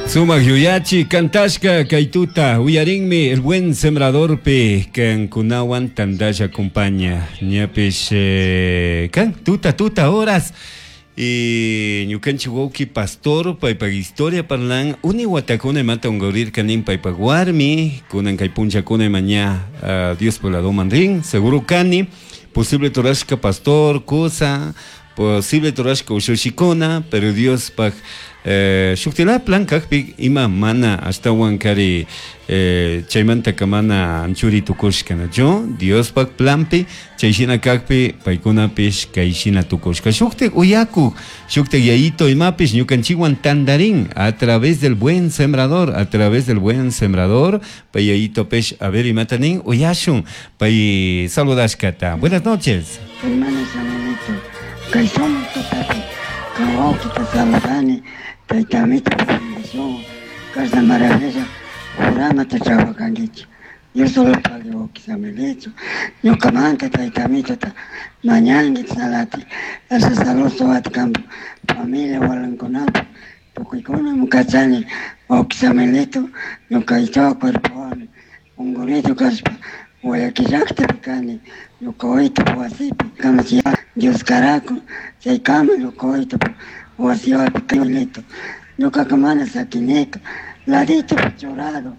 Sumak yuyachi kantashka kaytuta uyarinmi el buen sembradorpi kankunawan tandalla acompaña ñapish kan tuta tuta horas y ñukanchik wawki pastor paypak historia parlan uni watakuna imata unqurirka nin paypak warmi kunan kay punllakuna ima ña Diospak ladoman rin seguro kani posible turashka pastor kusa posible turashka ushushikuna pero Diospak shuktilaya plan kakpi ima mana ashtawan kari chaymantaka mana anchuri tukushka nachu Diospak planpi chay shina kakpi paykunapish kay shina tukushka shuktik uyakuk shuktik yayito imapish ñukanchikwan tandarin a través del buen sembrador a través del buen sembrador pay yayitopish a ver imata nin uyashun pay saludashkata. Buenas noches. Hermano Samuelito, kay sumak tutapi kan wawkita saludani, tayta amito bendición, kashna maravilla programata trabajankichik. Dios solo pague wawki Samuelito, ñukamanta tayta amitota mañanki salati, asha salud suwati kanpak familia walankunapak tukuykuna kachani wawki Samuelito, ñuka ichawa cuerpowan ungurido kashpa Guayaquil llaktapi kani, ñuka wawitupak wasipi kamachiy Dios karakun chaykama ñuka wawitupak wasiwapi Samuelito, ñukaka mana sakinika laditopi churado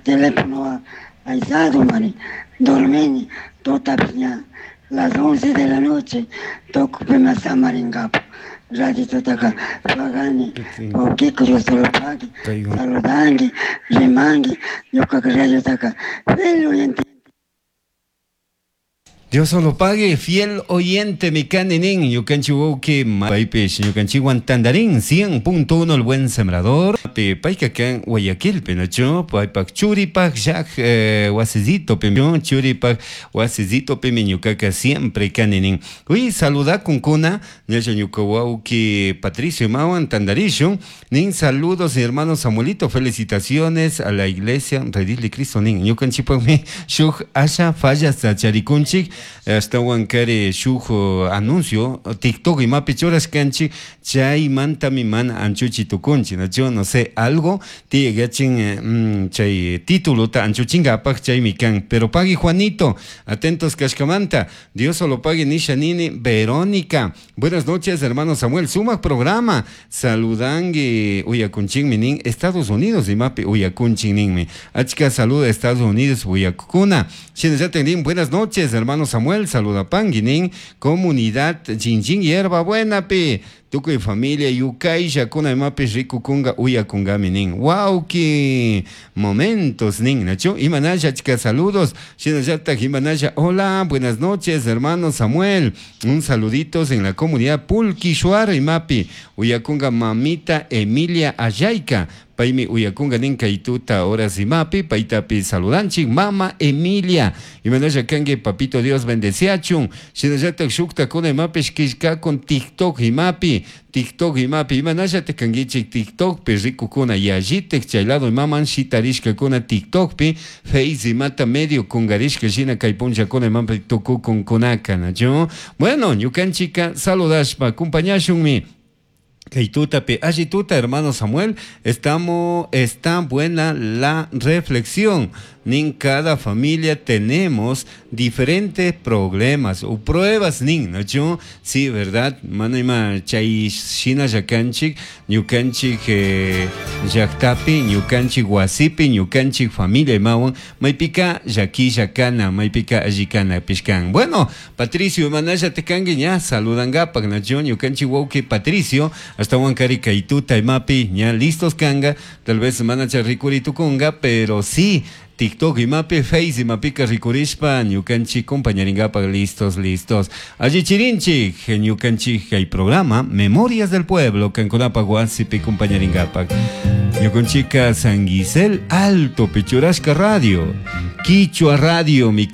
teléfono aysado mari dormini tutapish ña las once de la noche tukupima samarinkapak radiototaka pagani wawkiko Dios solo pagui saludanki rimanki ñukaka radiotaka fiel oyente. Dios solo pague, fiel oyente mi kani nin, ñukanchik wawki paypish ñukanchikwan tandarin 100.1 el buen sembrador payka kan Guayaquilpi nachu paypak churipak llak wasillitopi churipak wasillitopimi ñukaka siempre kani nin. Uy saludakunkuna ñalla ñuka wawki Patricio imawan tandarishun nin saludos mi hermano Samuelito felicitaciones a la iglesia Redil de Cristo nin ñukanchikpakmi shuk asha fallasta charikunchik ashtawan kari shuk anuncio TikTok imapi churashkanchik chaymantami mana anchuchi tukunchik nachu no sé algo tiyagachin chay titulota anchuchinkapak chaymi kan pero pagui Juanito atentos kashkamanta Dios solo pague nisha nini Verónica buenas noches hermano Samuel sumak programa saludangi uyakunchinmi nin Estados Unidos imapi uyakunchin ninmi achka saluda Estados Unidos uyakukuna shinallatak nin buenas noches hermano Samuel saludapangi nin comunidad Chinchín Hierba Buenapi tukuy familia yukayllakuna imapish rikukunga uyakunkami nin wawki momentos nin nachu imanalla achka saludos shinallatak imanalla hola buenas noches hermano Samuel un saluditos en la comunidad Pulquishuar imapi uyakunga mamita Emilia Ayayka paymi uyakunga nin kay tuta horas imapi paytapi saludanchik mama Emilia imanalla kanki papito Dios bendeciachun shinallatak shuktakuna imapish killkakun TikTok imapi TikTok imapi imanallatak kankichik TikTokpi rikukuna yallitik chay lado imaman shitarishkakuna TikTokpi Face imata medio kungarishka shina kay punllakuna imapi tukukunkunaka nachu bueno ñukanchika saludashpa acompañashunmi kay tutapi alli tuta hermano Samuel estamos está buena la reflexión nin cada familia tenemos diferentes problemas o pruebas nin nachu sí verdad mana ima chay shina llakanchik ñukanchik llaktapi ñukanchik wasipi ñukanchik familia imawan maypika llakilla kana maypika alli kanapish kan bueno Patricio imanalla kanki ña saludankapak nachu ñukanchik wawki Patricio ashtawan kari kay tuta imapi ña listos kanga tal vez manacha rikuri tukunga pero sí TikTok imapi Face imapika rikurishpa ñukanchik compañarinkapak listos listos alli chirinchik ñukanchik kay programa Memorias del Pueblo kankunapak wasipi compañarinkapak ñukanchika San Gisel Alto Pichurashka Radio Quichua Radio mi.